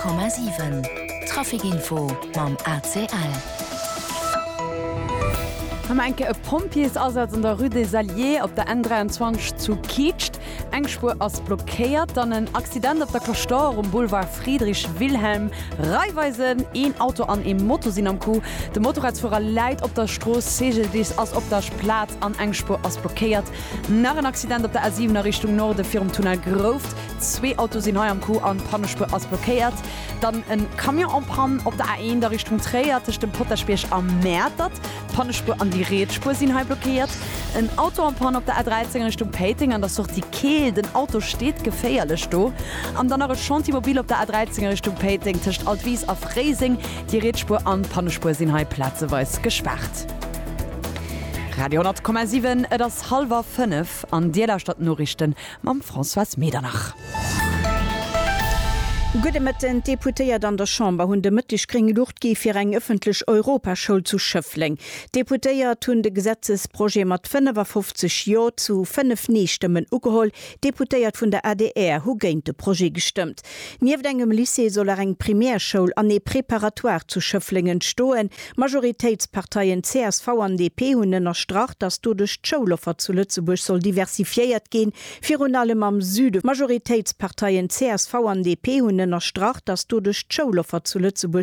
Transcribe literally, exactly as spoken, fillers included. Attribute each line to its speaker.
Speaker 1: Komma siwen, Trafic Info mam A C L.
Speaker 2: Hu mer enke e Pompjeesasaz an der Rue des Alliés op der N dräianzwanzeg zu Kietscht. Eng Spuer ass blockéiert. Dann en Accident op der Cloche d'Or um Boulevard Friedrich Wilhelm. Raiffeisen, een Auto an ee Moto sinn am Coup. De Motorradsfuerer läit op der Strooss, C G D I S ass op der Plaz an eng Spuer ass blockéiert. Nach en Accident op der A siwen a Richtung Norde virum Tunnel Grouft. Zwee Autoe sinn hei am Coup an d'Pannespuer ass blockéiert. Dann en Camion en panne op der A eent a Richtung Tréier tëscht dem Potaschbierg a Mäertert. D'Pannespuer an déi riets Spuer sinn hei blockéiert. En Auto en panne op der A dräizéng a Richtung Péiteng an der Sortie Keel. Den Auto steet geféierlech do. An dann nach e Chantier mobile op der A dräizéng a Richtung Péiteng tëscht Altwis a Fréiseng. Déi riets Spuer an d'Pannespuer sinn hei plazeweis gespaart. Radio honnert Komma siwen, et ass hallwer fënnef an Dir lauschtert d'Noriichten mam Françoise Medernach.
Speaker 3: Gudde Mëtten. D'Deputéiert an der Chamber hunn de Mëtteg gréng Luucht gi fir eng ëffentlech Europaschoul zu Schëffleng. D'Deputéiert hunn de Gesetzesprojet mat fënnefafofzeg Jo zu fënnef Nee-Stëmmen ugeholl. D'Deputéiert vun der A D R hu géint de Projet gestëmmt. Nieft engem Lycée soll och eng Primärschoul an ee Préparatoire zu Schëffleng entstoen. Majoritéitsparteien C S V an D P hunn ënnerstrach, datt doduerch d'Schouloffer zu Lëtzebuerg soll diversifiéiert ginn, virun allem am Süde. Majoritéitsparteien C S V an D P hunn ënnerstrach, datt doduerch d'Schouloffer zu Lëtzebuerg